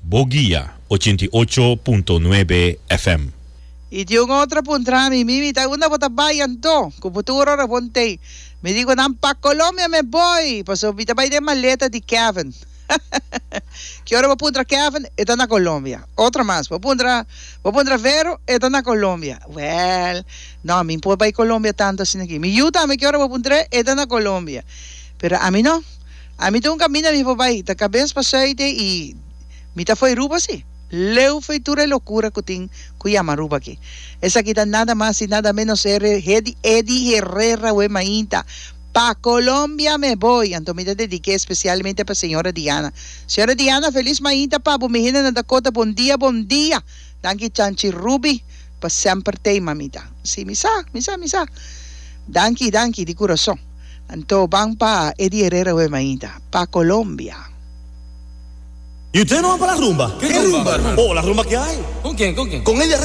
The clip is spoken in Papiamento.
Bo Guia 88.9 FM. I tin un otro a puntra mi, Mimi, ta unda bo ta bai anto? Ku bo tur ora bon tei. Mi di ku nan, Pa Colombia me boi, pasobra mi ta bai den maleta di Kevin. Ki ora bo puntra Kevin, e ta na Colombia. Otro mas, bo puntra, bo puntra Vero, e ta na Colombia. Wèl, no, mi por bai Colombia tantu asina aki. Mi yu tambe ki ora bo puntr'é, e ta na Colombia. Pero ami no. Ami ta un kaminda mi por bai, ta kabes pa sùite i mi ta fo'i Aruba si. Leu fo'i tur e lokura ku tin ku yama Aruba aki. Esaki ta nada mas i nada ménos e Eddie Herrera we mainta. Pa Colombia me voy! Anto mi ta dediké espesialmente pa señora Diana. Señora Diana, felis mainta pa bo. Mi hende na Dakota, bon dia, bon dia! Danki Chanchi Ruby pa semper tei mamita. Si, mi sa, mi sa, mi sa. Danki, danki di kurason. Anto ban pa Eddie Herrera we mainta. Pa Colombia. Y usted no van pa la rumba? ¿Qué rumba, hermano? Oh, la rumba que hay. ¿Con quién? ¿Con quién? Con Eddie Herrera.